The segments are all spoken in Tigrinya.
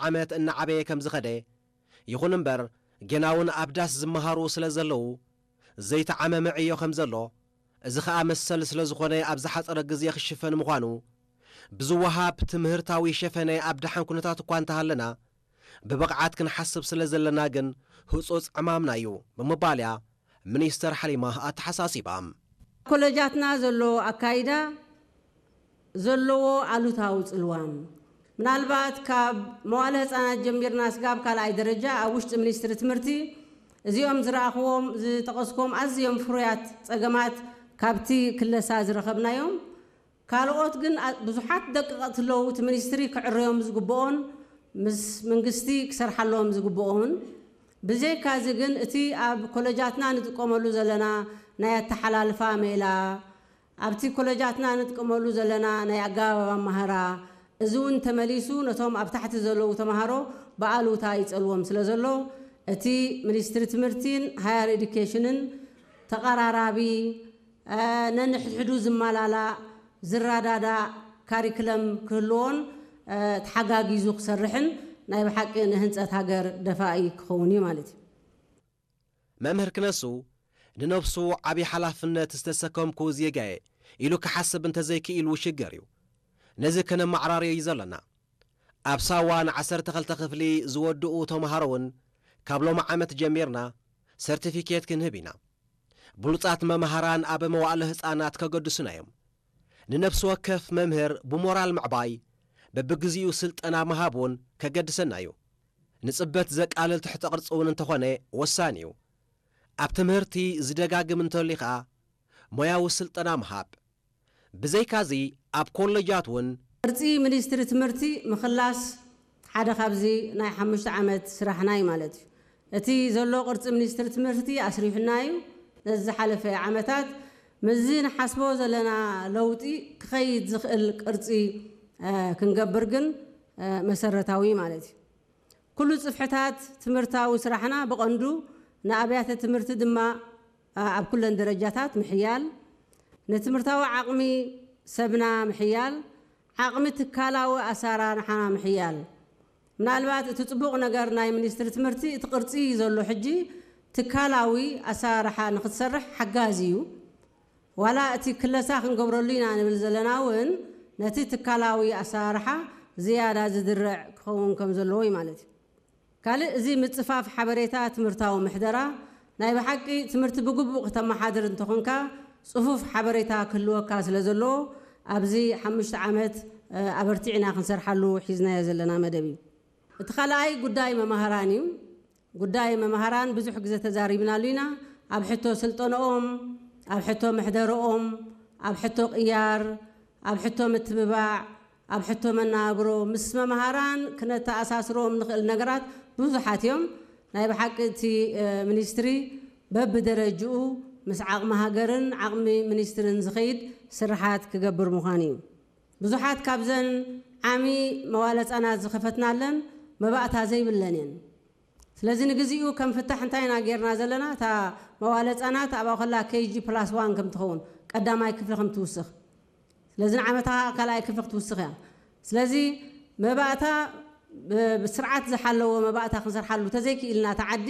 ዓመት እናዓበየ ከም ዝኸደ፣ ይኹን እምበር ጌና እውን ኣብ ዳስ ዝመሃሩ ስለ ዘለዉ ዘይተዓመመ ዕዮ ከም ዘሎ፣ እዚ ኸኣ መሰል ስለ ዝኾነ ኣብ ዝሓጸረ ግዜ ክሽፈን ምዃኑ፣ ብዝወሃብ ትምህርታዊ ሸፈነ ኣብ ደሓን ኩነታት እኳ እንተሃለና፣ ብብቕዓት ክንሓስብ ስለ ዘለና ግን ህጹጽ ዕማምና እዩ ብምባል እያ ሚኒስተር ሓሊማ ኣተሓሳሲባ። ኮለጃትና ዘሎ ኣካይዳ ዘለዎ ኣሉታዊ ጽልዋ፣ ምናልባት ካብ መዋለ ህጻናት ጀሚርና ስጋብ ካልኣይ ደረጃ ኣብ ውሽጢ ሚኒስትሪ ትምህርቲ እዚኦም ዝረኣኽዎም ዝጠቐስክዎም ኣዝዮም ፍሩያት ጸገማት ካብቲ ክለሳ ዝረኸብናዮም። ካልኦት ግን ኣ-፣ ብዙሓት ደቀቕቲ ኣለዉ፣ እቲ ሚኒስትሪ ክዕረዮም ዝግብኦን ምስ መንግስቲ ክሰርሓሎም ዝግብኦን። ብዘይካዚ ግን እቲ ኣብ ኮለጃትና ንጥቀመሉ ዘለና ናይ ኣተሓላልፋ ሜላ፣ ኣብቲ ኮለጃትና ንጥቀመሉ ዘለና ናይ ኣገባብ ኣመሃራ፣ እዚ እውን ተመሊሱ ነቶም ኣብ ታሕቲ ዘለዉ ተምሃሮ ብኣሉታ ይጸልዎም ስለ ዘሎ፣ እቲ ሚኒስትሪ ትምህርቲን ሃየር ኤዱኬሽንን ተቐራራቢ፣ እ፣ ነንሕድሕዱ ዝመላላእ፣ ዝረዳዳእ ካሪክለም ክህልዎን፣ እ፣ ተሓጋጊዙ ክሰርሕን ናይ ብሓቂ ንህንጸት ሃገር ደፋኢ ክኸውን እዩ ማለት እዩ። መምህር ክነሱ ንነብሱ ዓቢ ሓላፍነት ዝተሰከምኩ ዜጋየ ኢሉ ክሓስብ እንተዘይክኢሉ ሽገር እዩ። ነዚ ከነመዓራርዮ እዩ ዘለና። ኣብ ሳዋ ንዓሰርተ ክልተ ክፍሊ ዝወድኡ ተምሃሮ እውን ካብ ሎሚ ዓመት ጀሚርና ሰርቲፊኬት ክንህብ ኢና። ብሉጻት መምሃራን ኣብ መዋእለ ህጻናት ከገድሱና እዮም። ንነፍሲ ወከፍ መምህር ብሞራል ምዕባይ፣ በብግዚኡ ስልጠና ምሃብ እውን ከገድሰና እዩ። ንጽበት ዘቃልል ትሕተ ቅርጺ እውን እንተኾነ ወሳኒ እዩ። ኣብ ትምህርቲ ዝደጋግም እንተልዩ ኸኣ ሞያዊ ስልጠና ምሃብ። ብዘይካዚ ኣብ ኮለጃት እውን ቅርጺ ሚኒስትሪ ትምህርቲ ምኽላስ ሓደ ካብዚ ናይ ሓሙሽተ ዓመት ስራሕና እዩ ማለት እዩ። እቲ ዘሎ ቅርጺ ሚኒስትሪ ትምህርቲ ኣስሪሑና እዩ። ነዚ ዝሓለፈ ዓመታት ምስዚ ንሓስቦ ዘለና ለውጢ ክኸይድ ዝኽእል ቅርጺ፣ እ፣ ክንገብር ግን፣ እ፣ መሰረታዊ ማለት እዩ። ኩሉ ጽፍሕታት ትምህርታዊ ስራሕና ብቐንዱ ንኣብያተ ትምህርቲ ድማ፣ እ፣ ኣብ ኩለን ደረጃታት ምሕያል፣ ንትምህርታዊ ዓቕሚ ሰብና ምሕያል፣ ዓቕሚ ትካላዊ ኣሰራርሓና ምሕያል። ምናልባት እቲ ጽቡቕ ነገር ናይ ሚኒስትሪ ትምህርቲ እቲ ቅርጺ እዩ ዘሎ። ሕጂ ትካላዊ ኣሰራርሓ ንኽትሰርሕ ሓጋዚ እዩ። ዋላ እቲ ክለሳ ክንገብረሉ ኢና ንብል ዘለና እውን ነቲ ትካላዊ ኣሰራርሓ ዝያዳ ዝድርዕ ክኸውን ከም ዘለዎ እዩ ማለት እዩ። ካልእ፣ እዚ ምጽፋፍ ሓበሬታ ትምህርታዊ ምሕደራ፣ ናይ ብሓቂ ትምህርቲ ብግቡእ ከተመሓድር እንተኾንካ፣ ጽፉፍ ሓበሬታ ክህልወካ ስለ ዘለዎ፣ ኣብዚ ሓሙሽተ ዓመት፣ እ፣ ኣበርቲዕና ክንሰርሓሉ ሒዝናዮ ዘለና መደብ እዩ። እቲ ካልኣይ ጉዳይ መማህራን እዩ። ጉዳይ መማህራን ብዙሕ ግዜ ተዛሪብናሉ ኢና። ኣብ ሕቶ ስልጠነኦም፣ ኣብ ሕቶ መሕደረኦም፣ ኣብ ሕቶ ቅያር፣ ኣብ ሕቶ ምትብባዕ፣ ኣብ ሕቶ መናብሮ ምስ መምሃራን ክነተኣሳስሮም ንኽእል ነገራት ብዙሓት እዮም። ናይ ብሓቂ እቲ፣ እ፣ ሚኒስትሪ በብደረጅኡ ምስ ዓቕሚ ሃገርን ዓቕሚ ሚኒስትርን ዝኸይድ ስርሓት ክገብር ምዃኑ እዩ። ብዙሓት ካብዘን ዓሚ መዋለ ህጻናት ዝኸፈትናለን መባእታ ዘይብለን እየን። ስለዚ ንግዚኡ ከም ፍታሕ እንታይ ኢና ጌርና ዘለና? እታ መዋለ ህጻናት ኣብኣ ከላ ኬጂ ፕላስ ዋን ከም ትኸውን፣ ቀዳማይ ክፍሊ ከም ትውስኽ። ስለዚ ንዓመታ ካልኣይ ክፍሊ ክትውስኽ እያ። ስለዚ መባእታ ብ-፣ ብስርዓት ዝሓለዎ መባእታ ክንሰርሓሉ ተዘይክኢልና፣ እታ ዓዲ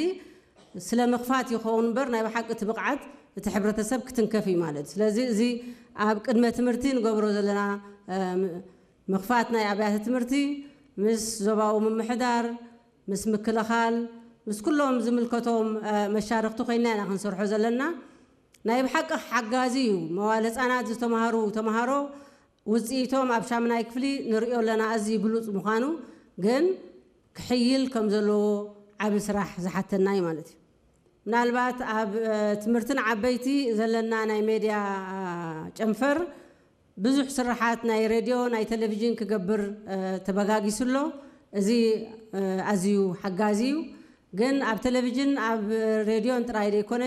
ስለ ምኽፋት ይኸውን እምበር ናይ ብሓቂ እቲ ብቕዓት እቲ ሕብረተሰብ ክትንከፍ እዩ ማለት እዩ። ስለዚ እዚ ኣብ ቅድመ ትምህርቲ ንገብሮ ዘለና፣ እ፣ ም-፣ ምኽፋት ናይ ኣብያተ ትምህርቲ ምስ ዞባዊ ምምሕዳር፣ ምስ ምክልኻል፣ ምስ ኩሎም ዝምልከቶም፣ እ፣ መሻርኽቲ ኮይና ኢና ክንሰርሖ ዘለና። ናይ ብሓቂ ሓጋዚ እዩ። መዋለ ህጻናት ዝተምሃሩ ተምሃሮ ውጽኢቶም ኣብ ሻምናይ ክፍሊ ንርእዮ ኣለና፣ ኣዝዩ ብሉጽ ምዃኑ፣ ግን ክሕይል ከም ዘለዎ ዓቢ ስራሕ ዝሓተና እዩ ማለት እዩ። ምናልባት ኣብ፣ እ፣ ትምህርትን ዓበይቲ ዘለና ናይ ሜድያ፣ እ፣ ጨንፈር ብዙሕ ስርሓት ናይ ሬድዮ፣ ናይ ቴሌቪዥን ክገብር፣ እ፣ ተበጋጊሱ ኣሎ። እዚ፣ እ፣ ኣዝዩ ሓጋዚ እዩ። ግን ኣብ ቴሌቪዥን፣ ኣብ ሬድዮን ጥራይ ዘይኮነ፣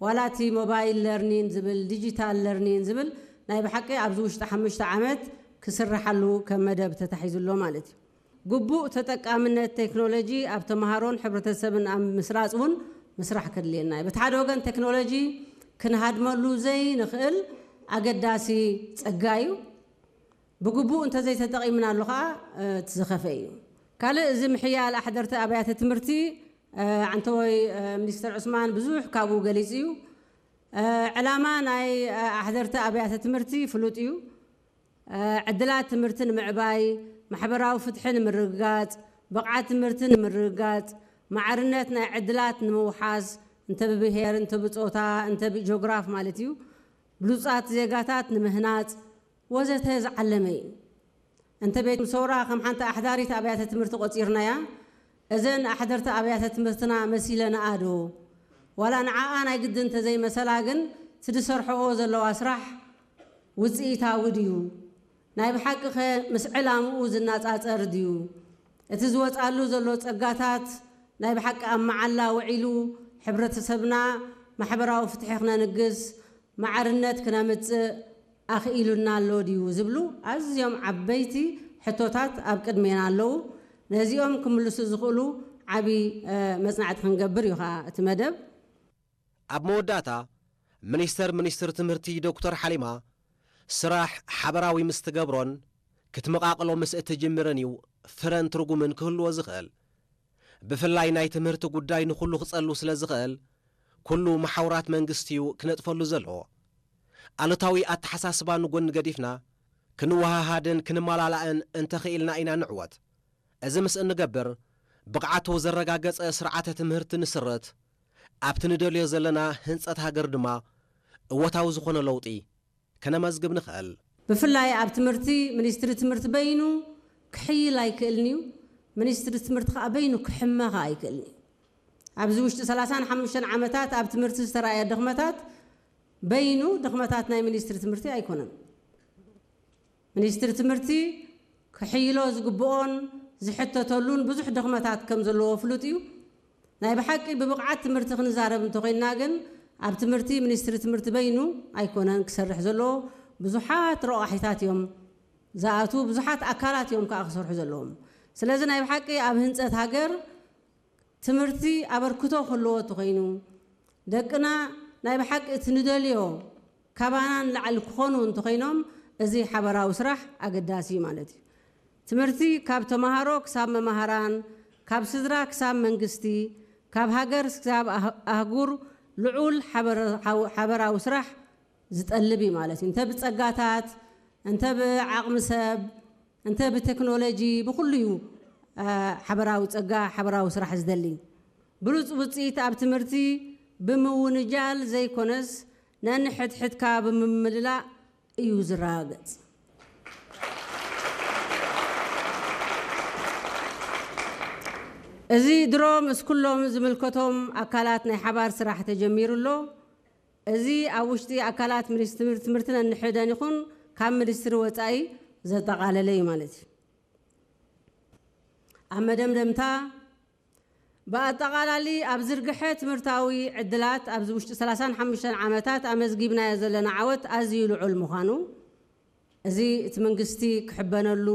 ዋላ እቲ ሞባይል ለርኒን ዝብል፣ ዲጂታል ለርኒን ዝብል ናይ ብሓቂ ኣብዚ ውሽጢ ሓሙሽተ ዓመት ክስርሓሉ ከም መደብ ተታሒዙ ኣሎ ማለት እዩ። ግቡእ ተጠቃምነት ቴክኖሎጂ ኣብ ተምሃሮን ሕብረተሰብን ኣብ ምስራጽ እውን ምስራሕ ከድልየና እዩ። በቲ ሓደ ወገን ቴክኖሎጂ ክንሃድመሉ ዘይንኽእል ኣገዳሲ ጸጋ እዩ። ብግቡእ እንተዘይተጠቒምናሉ ኸኣ፣ እ፣ እቲ ዝኸፍአ እዩ። ካልእ እዚ ምሕያል ኣሕደርቲ ኣብያተ ትምህርቲ፣ እ፣ ዓንተወይ፣ እ፣ ሚኒስተር ዑስማን ብዙሕ ካብኡ ገሊጹ እዩ። እ፣ ዕላማ ናይ፣ እ፣ ኣሕደርቲ ኣብያተ ትምህርቲ ፍሉጥ እዩ። እ፣ ዕድላት ትምህርቲ ንምዕባይ፣ ማሕበራዊ ፍትሒ ንምርግጋጽ፣ ብቕዓት ትምህርቲ ንምርግጋጽ፣ ማዕርነት ናይ ዕድላት ንምውሓስ፣ እንተ ብብሄር፣ እንተ ብጾታ፣ እንተ ብጂኦግራፍ ማለት እዩ፣ ብሉጻት ዜጋታት ንምህናጽ ወዘተ ዝዓለመ እዩ። እንተ ቤት ትምህርቲ ሰውራ ከም ሓንቲ ኣሕዳሪት ኣብያተ ትምህርቲ ቆጺርናያ፣ እዘን ኣሕደርቲ ኣብያተ ትምህርትና መሲለንኣ ዶ? ዋላ ንዓኣ ናይ ግድን እንተዘይመሰላ ግን፣ እቲ ዝሰርሕኦ ዘለዋ ስራሕ ውጽኢታዊ ድዩ? ናይ ብሓቂ ኸ ምስ ዕላምኡ ዝነጻጸር ድዩ? እቲ ዝወጻሉ ዘሎ ጸጋታት ናይ ብሓቂ ኣብ መዓላ ውዒሉ ሕብረተሰብና ማሕበራዊ ፍትሒ ክነንግስ፣ ማዕርነት ክነምጽእ ኣኽኢሉና ኣሎ ድዩ ዝብሉ ኣዝዮም ዓበይቲ ሕቶታት ኣብ ቅድሜና ኣለዉ። ነዚኦም ክምልሱ ዝኽእሉ ዓቢ፣ እ፣ መጽናዕቲ ክንገብር እዩ ኸኣ እቲ መደብ። ኣብ መወዳእታ፣ ሚኒስተር ሚኒስትሪ ትምህርቲ ዶክተር ሓሊማ፣ ስራሕ ሓበራዊ ምስ ትገብሮን ክትመቓቕሎ ምስ እትጅምርን እዩ ፍረን ትርጉምን ክህልዎ ዝኽእል። ብፍላይ ናይ ትምህርቲ ጉዳይ ንኹሉ ክጸሉ ስለ ዝኽእል፣ ኩሉ መሓውራት መንግስቲ እዩ ክነጥፈሉ ዘለዎ። ኣሉታዊ ኣተሓሳስባ ንጎኒ ገዲፍና፣ ክንወሃሃድን ክንመላላእን እንተኽኢልና ኢና ንዕወት። እዚ ምስ እንገብር፣ ብቕዓቱ ዘረጋገጸ ስርዓተ ትምህርቲ ንስርት፣ ኣብቲ ንደልዮ ዘለና ህንጸት ሃገር ድማ እወታዊ ዝኾነ ለውጢ ከነመዝግብ ንኽእል። ብፍላይ ኣብ ትምህርቲ፣ ሚኒስትሪ ትምህርቲ በይኑ ክሕይል ኣይክእልን እዩ። ሚኒስትሪ ትምህርቲ ከኣ በይኑ ክሕመ ከኣ ኣይክእልን እዩ። ኣብዚ ውሽጢ ሰላሳን ሓሙሽተን ዓመታት ኣብ ትምህርቲ ዝተራእየ ድኽመታት በይኑ ድኽመታት ናይ ሚኒስትሪ ትምህርቲ ኣይኮነን። ሚኒስትሪ ትምህርቲ ክሕይሎ ዝግብኦን ዝሕተተሉን ብዙሕ ድኽመታት ከም ዘለዎ ፍሉጥ እዩ። ናይ ብሓቂ ብብቕዓት ትምህርቲ ክንዛረብ እንተኾይንና ግን፣ ኣብ ትምህርቲ ሚኒስትሪ ትምህርቲ በይኑ ኣይኮነን ክሰርሕ ዘለዎ። ብዙሓት ረቋሒታት እዮም ዝኣትዉ፣ ብዙሓት ኣካላት እዮም ከኣ ክሰርሑ ዘለዎም። ስለዚ ናይ ብሓቂ ኣብ ህንጸት ሃገር ትምህርቲ ኣበርክቶ ክህልዎ እንተኾይኑ፣ ደቅና ናይ ብሓቂ እቲ ንደልዮ ካባና ንላዕሊ ክኾኑ እንተኾይኖም፣ እዚ ሓበራዊ ስራሕ ኣገዳሲ እዩ ማለት እዩ። ትምህርቲ ካብ ተመሃሮ ክሳብ መማህራን፣ ካብ ስድራ ክሳብ መንግስቲ፣ ካብ ሃገር ክሳብ ኣህ-፣ ኣህጉር ልዑል ሓበረ-፣ ሓው-፣ ሓበራዊ ስራሕ ዝጠልብ እዩ ማለት እዩ። እንተ ብጸጋታት፣ እንተ ብዓቕሚ ሰብ፣ እንተ ብቴክኖሎጂ፣ ብኹሉ እዩ፣ አ፣ ሓበራዊ ጸጋ፣ ሓበራዊ ስራሕ ዝደሊ። ብሉጽ ውጽኢት ኣብ ትምህርቲ ብምውንጃል ዘይኮነስ፣ ነንሕድሕድካ ብምምልላእ እዩ ዝረጋገጽ። እዚ ድሮ ምስ ኩሎም ዝምልከቶም ኣካላት ናይ ሓባር ስራሕ ተጀሚሩ ኣሎ። እዚ ኣብ ውሽጢ ኣካላት ሚኒስትሪ ትምህርቲ ነንሕደን ይኹን ካብ ሚኒስትሪ ወጻኢ ዘጠቓለለ እዩ ማለት እዩ። ኣብ መደምደምታ፣ ብኣጠቓላሊ ኣብ ዝርግሐ ትምህርታዊ ዕድላት ኣብዚ ውሽጢ ሰላሳን ሓሙሽተን ዓመታት ኣመዝጊብናዮ ዘለና ዓወት ኣዝዩ ልዑል ምዃኑ፣ እዚ እቲ መንግስቲ ክሕበነሉ፣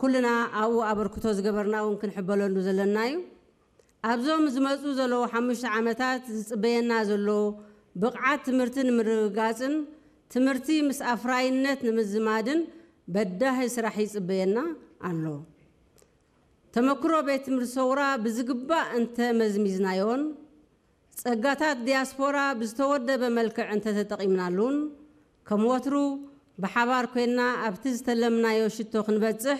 ኩልና ኣብኡ ኣበርክቶ ዝገበርና እውን ክንሕበነሉ ዘለና እዩ። ኣብዞም ዝመጹ ዘለዉ ሓሙሽተ ዓመታት ዝጽበየና ዘሎ ብቕዓት ትምህርቲ ንምርግጋጽን ትምህርቲ ምስ ኣፍራይነት ንምዝማድን በዳሂ ስራሕ ይጽበየና ኣሎ። ተመክሮ ቤት ትምህርቲ ሰውራ ብዝግባእ እንተ መዝሚዝናዮን፣ ጸጋታት ዲያስፖራ ብዝተወደበ መልክዕ እንተተጠቒምናሉን፣ ከም ወትሩ ብሓባር ኮይንና ኣብቲ ዝተለምናዮ ሽቶ ክንበጽሕ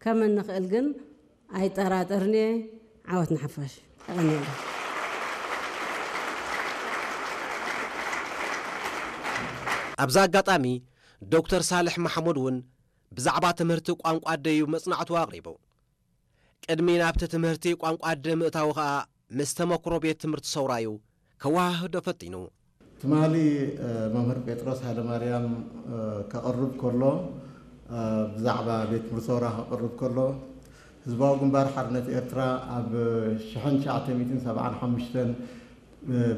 ከም እንኽእል ግን ኣይጠራጠርን እየ። ዓወት ንሓፋሽ። የቐንየለይ። ኣብዚ ኣጋጣሚ ዶክተር ሳልሕ ማሕሙድ እውን ብዛዕባ ትምህርቲ ቋንቋ ኣደዩ መጽናዕቱ ኣቕሪቡ። ቅድሚ ናብቲ ትምህርቲ ቋንቋ ኣደ ምእታዉ ኸኣ ምስ ተመክሮ ቤት ትምህርቲ ሰውራዩ ከወሃህዶ ፈቲኑ። ትማሊ፣ እ፣ መምህር ጴጥሮስ ሃይለማርያም፣ እ፣ ከቕርብ ከሎ፣ እ፣ ብዛዕባ ቤት ትምህርቲ ሰውራ ከቕርብ ከሎ፣ ህዝባዊ ግንባር ሓርነት ኤርትራ ኣብ ሽሕን ትሽዓተ ሚእትን ሰብዓን ሓሙሽተን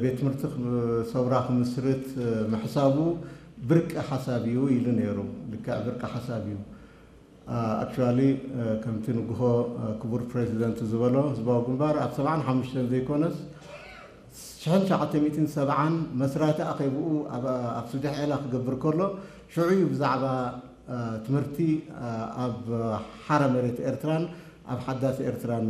ቤት ትምህርቲ ክም-፣ ሰውራ ክምስርት ምሕሳቡ ብርቂ ሓሳብ እዩ ኢሉ ነይሩ። ልክዕ ብርቂ ሓሳብ እዩ። አ፣ ኣክቹዋሊ፣ አ፣ ከምቲ ንግሆ፣ አ፣ ክቡር ፕሬዚደንት ዝበሎ፣ ህዝባዊ ግንባር ኣብ ሰብዓን ሓሙሽተን ዘይኮነስ፣ ሽሕን ትሽዓተ ሚእትን ሰብዓን መስራቲ ኣኼብኡ ኣብ፣ ኣብ ስደሕ ዔላ ክገብር ከሎ፣ ሽዑ እዩ ብዛዕባ፣ አ፣ ትምህርቲ፣ አ፣ ኣብ ሓራ መሬት ኤርትራን ኣብ ሓዳስ ኤርትራ